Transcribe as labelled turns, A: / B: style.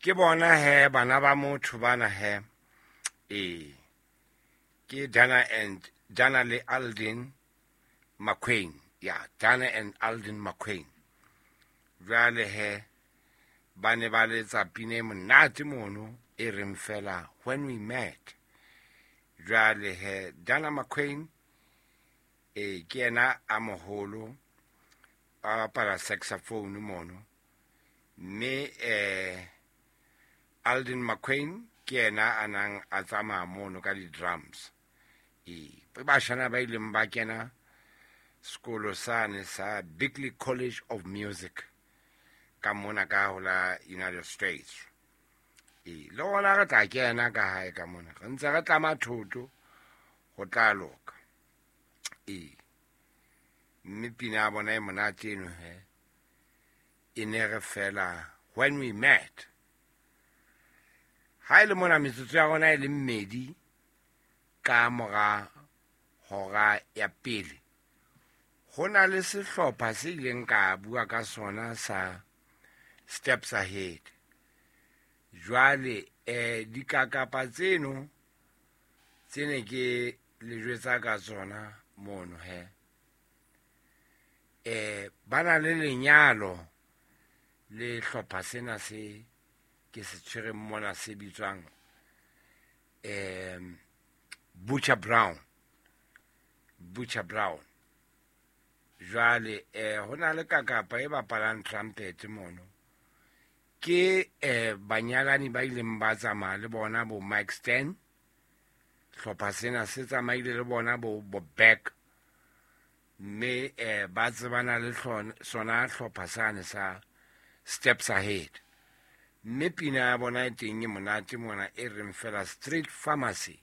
A: Ke bona he bana ba motho bana he. Ee, ke Dana and Dana le Aldin McQueen. Ya, Dana and Aldin McQueen. Jwale he ba ne ba letsa pina e monate mono e reng fela When We Met. Jwale he Dana McQueen e ke yena a moholo a bapala saxophone mono, mme Aldin McQueen ke yena a nang a tsamaya mono ka di-drums. Ee, bashana ba ileng ba kena sekolo sane sa Berklee College of Music ka mona ka ho la United States. Ee, le gona re tla kena ka hae ka mona, re ntse re tlama thoto ho tla loka. Ee, mme pina ya bona e monate eno he e ne re fela When We Met. Ha e le mona metsotso ya rona e le mmedi ka mora hora ya pele, ho na le sehlopha se ileng ka bua ka sona sa Steps Ahead. Jwale dikakapa tseno tse ne ke le jwetsa ka tsona mono he, ba na le lenyalo le hlopha sena se ke se tshwereng mona se bitswang Butcher Brown. Butcher Brown. Jwale ho na le kakapa e bapalang trumpet mono. Ke banyalani ba ileng ba tsamaya le bona bo Mike Stern. Hlopha sena se tsamaile le bona bo Beck. Mme ba tsebana le sona hlopha sane sa Steps Ahead. Mme pina ya bona e teng e monate mona e reng fela Street Pharmacy.